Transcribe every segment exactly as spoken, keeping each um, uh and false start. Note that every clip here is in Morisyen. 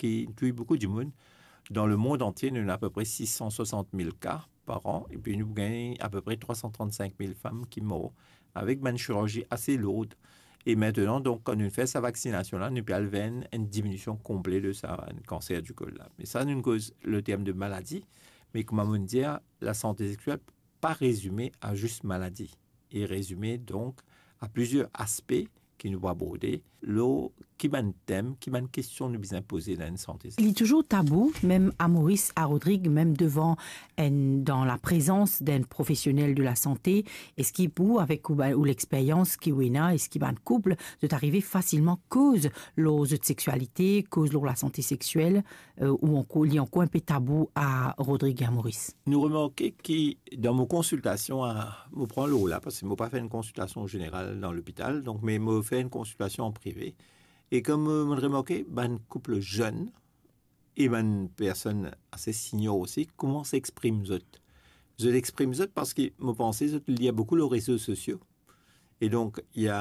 ki touy boukou dimoun. Dan lemond antie, nou ena apepre sis san swasant mil ka par an, epi nou gagn apepre trwa san trann-sink mil fam ki mor avek bann chirurzi ase lour. E aster, donk, kan nou fer sa vaksinasion la, nou pe al ver enn, enn diminision konple de sa, enn kanser di kol la. Me sa, nou koz le term de maladi, me kouma mo dir, lasante sexiel pa rezime a zis maladi. Li rezime, donk, a plizier aspe ki nou pou aborde, lor ki bann tem, ki bann kestion nou bizin poze dan enn sante. Li touzour tabou, mem a Moris, a Rodrig, mem devan enn, dan laprezans d'enn profesionel de lasante. Eski pou, avek ou, ou lexperyans ki ou ena, eski bann koup, zot arive fasilman koz lor zot sexialite, koz lor lasante sexiel, euh, ou ankor, li ankor enpe tabou a Rodrig e a Moris? Nou remarke ki dan mo konsiltasion, a, mo pran lor la, parski mo pa fer enn konsiltasion zeneral dan lopital, donk, me mo fer enn konsiltasion an prive. E kouma mo remarke, bann koup zenn e bann personn ase senior osi koumans exprim zot. Zot exprim zot parski mo panse zot lir boukou lor rezo sosio. E donk, ena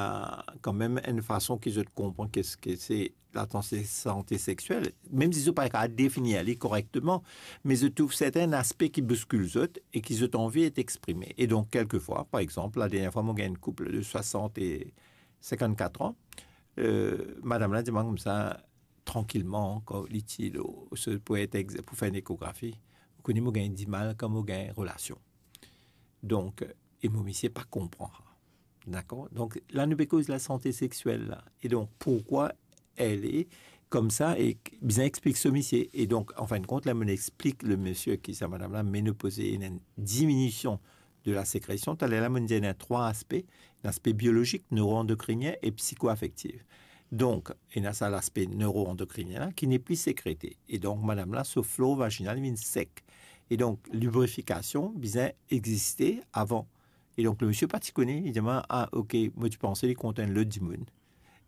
kanmem enn fason ki zot konpran ki, ki se lasante sexiel, mem si zot pa kapav definir li korekteman, me zot trouv sertin aspe ki bouskil zot e ki zot anvi et exprime. E donk, kelkefwa, par exanp, ladernier fwa, mo gagn enn koup de swasant e sinkant-kat an, euh, madam la dir mwa koumsa, trankilman, kan li ti lo, se pou et ex-, pou fer enn ekografi, ou kone mo gagn dimal kan mo gagn relasion. Donk, e mo misie pa konpran. Dakor? Donk, la nou pe koz lasante sexiel la. E donk, pourkoi li koumsa e bizin explik so misie. E donk, anfindkont, la mo explik le misie ki sa madam la menopoze, ena enn diminision de la sekresion. Taler la, mo dir ena trwa aspe, laspe biolozik, neuroendokrinien e psikoafektif. Donk, ena sa laspe neuroendokrinien la ki nepli sekrete. E donk, madam la, so flor vaginal vinn sek. E donk, librifikasion bizin existe avan. E donk, le misie pa ti kone, li dir mwa, "Ah, ok, mo ti panse li kontan enn lot dimoun."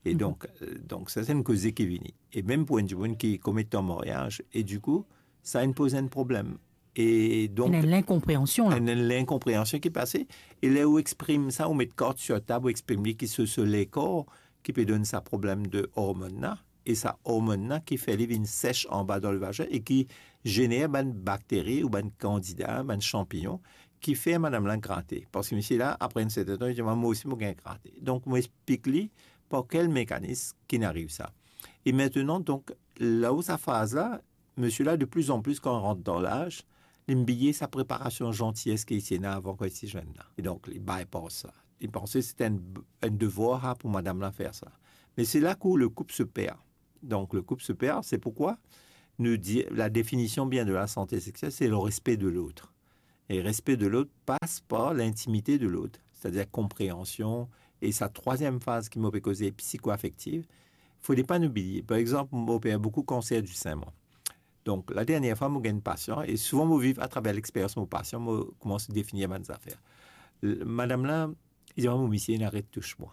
E donk, euh, donk, sa se enn koze ki vini. E mem pou enn dimoun ki komet an maryaz, e dikou, sa inn poz enn problem. E donk, ena linkonpreansion la. Ena linkonpreansion ki pase. E ler ou exprim sa, ou met kart sir tab, ou exprim li ki se, se lekor ki pe donn sa problem de ormonn la. E sa ormonn la ki fer li vinn sek anba dan le vazin e ki zener bann bakteri ou bann kandida, bann sanpignon ki fer madam la grate. Parski misie la, apre enn sertin tan, li dir mwa, "Mwa osi, mo gagn grate." Donk, mo explik li par kel mekanis ki inn ariv sa. E aster, donk, lor sa faz la, misie la, de pli an pli, kan li rant dan laz, li bliye sa preparasion zanties ki li ti ena avan kan li ti zenn la. E donk, li bypass sa. Li panse se enn, enn devwar pou madam la fer sa. Me se la ki le koup se per. Donk, le koup se per, se pourkoi nou dir, la definision bien de lasante sexiel, se le respe de lot. E respe de lot pas par lintimite de lot, setadir konpreansion. E sa trwaziem faz ki mo pe koze, psikoafektif, fode pa nou bliye. Par exanp, mo oper boukou kanser di sin, mwa. Donk, ladernier fwa, mo gagn pasian, e souvan mo viv atraver lexperyans mo pasian, mo koumans definir bann zafer. L-, madam la, li dir mwa, "Mo misie, inn aret tous mwa."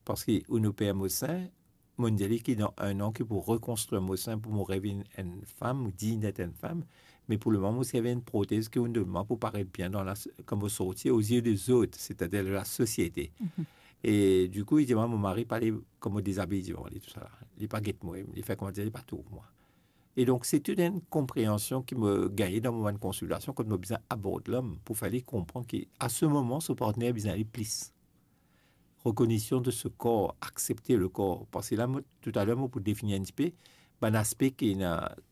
Parski ou inn oper mo sin, mo dir li ki dan enn an ki pou rekonstrir mo sin pou mo revinn enn fam, ou dign d'être enn fam, me pou lemoman mo servi enn protez ki ou donn mwa pou paret bien dan la, kan mo sorti, aux yeux des autres, c'est-à-dire de la société. Mhm. E dikou, li dir mwa, mo mari pa le, kan mo dezabiy divan li, tousala. Li pa get mwa, li fer koumadir li pa trouv mwa. E donk, se tou enn konpreansion ki mo gagne dan mo bann konsiltasion, kot mo bizin abord lom pou fer li konpran ki, a se moman, so partner bizin li plis. Rekonesan de so kor, aksepte le kor. Parski la, mo, toutaler, mo pou definir enn tipe bann aspe ki ena,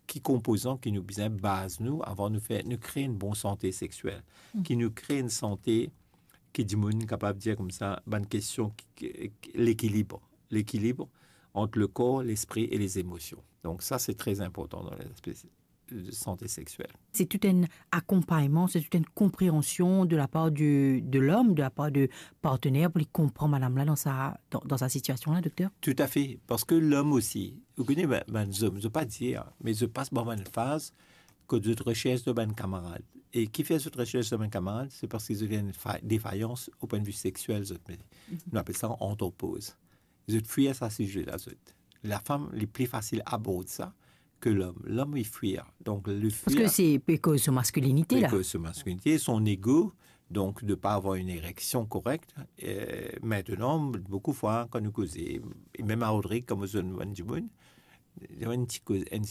ki konpozan ki nou bizin baz nou avan nou fer, nou kre enn bon sante sexiel, Mm. ki nou kre enn sante ki dimoun kapav dir koumsa, bann kestion ki, ki, lekilib, lekilib ant le kor, lespri e les emosions. Donk sa, se tre inportan dan laspe de sante sexiel. Se tou enn akonpagnman, se tou enn konpreansion de lapar de, de lom, de lapar de partner pou li konpran madam la dan sa, dan, dan sa sitiasion la, dokter? Toutafe, parski lom osi, ou kone, bann, bann zom, zot pa dir, me zot pas par bann faz kot zot resers de bann kamarad. E ki fer zot resers de bann kamarad, se parski zot ena enn fa-, defayans o pwin de vi sexiel, zot, me Mhm. nou apel sa andropoz. Zot fwir sa size la, zot. Lafam, li pli fasil abord sa ke lom. Lom, li fwir. Donk, li fwir. Parski se pe koz so maskilinite la. Pe koz so maskilinite, son ego, donk de pa avoir enn ereksion korek. E aster, boukou fwa, kan nou koze, e mem a Rodrig, kan mo zwenn bann dimoun, Enn ti koz, enn